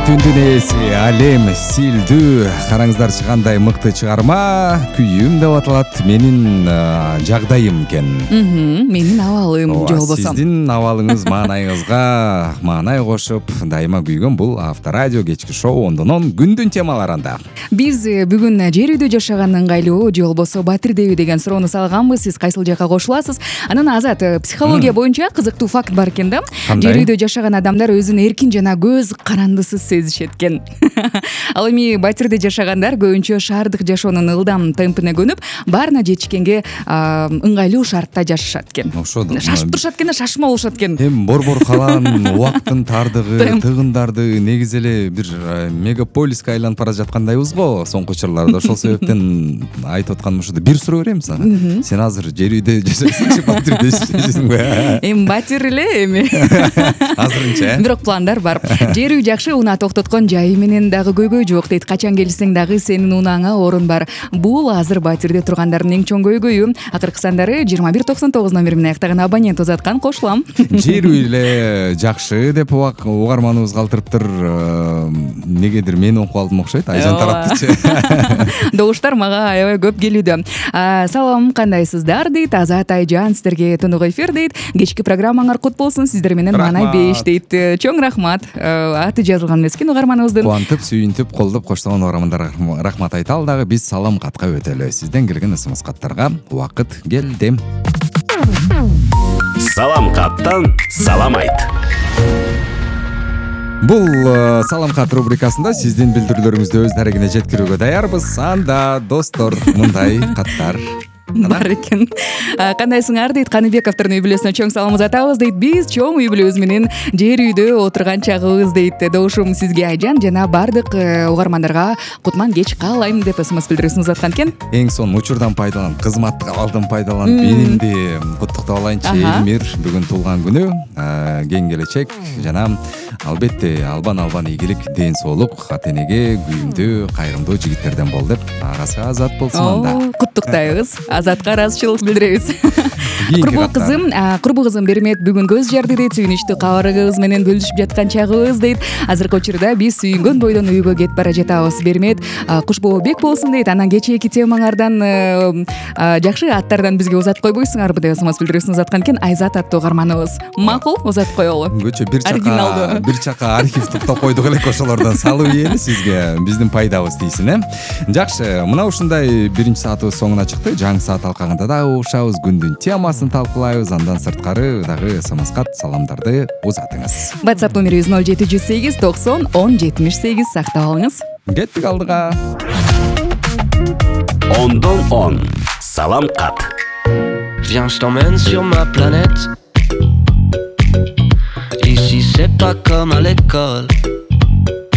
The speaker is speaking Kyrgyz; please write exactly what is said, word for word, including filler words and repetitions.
түндүн ээси Алем Силдүү караңыздарчы кандай мыкты чыгарма. Күйүм деп аталат. Менин жагдайым экен. Менин абалым же болбосо. Сиздин абалыңыз маанайыңызга маанай кошуп дайыма күйгөн бул Авторадио кечки шоу ондонон күндүн темаларында. Биз бүгүн жер үйдө жашаган ыңгайлуу же болбосо батирдеби деген суроону салганбыз. Сиз кайсыл жакка кошуласыз? Анан Азат, психология боюнча кызыктуу факт бар экен да. Жер үйдө жашаган адамдар өзүн эркин жана көз карандысыз сезишет экен. Ал эми батирде жашагандар көбүнчө шаардык жашоонун ылдам темпине көнүп, баарына жетишкенге ыңгайлуу шартта жашашат экен. Ошодо шашып турушат экен да, шашма болушат экен. Эми борбор калаан, убакыттын тардыгы, тыгындарды негизи эле бир мегаполиске айланып бара жаткандайбыз го соңку учурларда. Ошол себептен айтып атканым ушул. Бир суроо берем сага. Сен азыр жер үйдө жашайсыңбы, батирде жашайсыңбы? Эми батир эле эми. Азырынча. Бирок пландар бар. Жер үй жакшы, унаа токтоткон жайы менен дагы көйгөй жок дейт. Качан келсең дагы сенин унааңа орун бар. Бул азыр батирде тургандардын эң чоң көйгөйү. Акыркы сандары жыйырма бир токсон тогуз номери менен аяктаган абонент узаткан, кошулам. Жер үй эле жакшы деп угарманыбыз калтырыптыр. Негедир мен окуп алдым окшойт. Айжан тараптычы. Добуштар мага аябай көп келүүдө. Салам, кандайсыздар дейт. Азат, Айжан, сиздерге тынык эфир дейт. Кечки программаңар кут болсун, сиздер менен маанай беш дейт. Чоң рахмат. Аты жазылган эмескен угарманыбыздын. Кубантып, сүйүнтүп, колдоп коштогон угармандарга рахмат айталы дагы. Биз салам катка өтөлү. Сизден келген смс каттарга убакыт келди. Салам каттан салам айт. Бул салам кат рубрикасында сиздин билдирүүлөрүңүздү өз дарегине жеткирүүгө даярбыз. Анда достор мындай каттар бар экен. Кандайсыңар дейт. Каныбековдордун үй бүлөсүнө чоң салам узатабыз дейт. Биз чоң үй бүлөбүз менен жер үйдө отурган чагыбыз дейт. Добушум сизге, Айжан, жана бардык угармандарга кутман кеч каалайм деп смс билдирүүсүн узаткан экен. Эң сонун учурдан пайдаланып, кызматтык абалдан пайдаланып, менимди куттуктап алайынчы. Элмир бүгүн туулган күнү, кең келечек жана албетте албан албан ийгилик, ден соолук, ата энеге күйүмдүү, кайрымдуу жигиттерден бол деп агасы Азат болсун анда. Куттуктайбыз. Азатка ыраазычылык билдиребиз. Курбу кызым, курбу кызым Бермет бүгүн көз жарды дейт. Сүйүнүчтүү кабарыгыбыз менен бөлүшүп жаткан чагыбыз дейт. Азыркы учурда биз сүйүнгөн бойдон үйгө кетип бара жатабыз. Бермет кушбоо бек болсун дейт. Анан кечээки темаңардан жакшы аттардан бизге узатып койбойсуңарбы деп смс билдирүүсүн узаткан экен. Айзат аттуу угарманыбыз. Макул, узатып коелу. Көчө бир чака бир чака архив топтоп койдук элек, ошолордон салып ийели сизге, биздин пайдабыз тийсин, э. Жакшы, мына ушундай биринчи саатыбыз соңуна чыкты. Жаңы саат алкагында дагы угушабыз, күндүн темасын талкуулайбыз. Андан сырткары дагы смс кат, саламдарды узатыңыз. WhatsApp номерибиз ноль жети жүз сегиз токсон он жетимиш сегиз. Сактап алыңыз. Кеттик алдыга. Ондон он. Салам кат. Viens, je t'emmène sur ma planète. Ici c'est pas comme à l'école.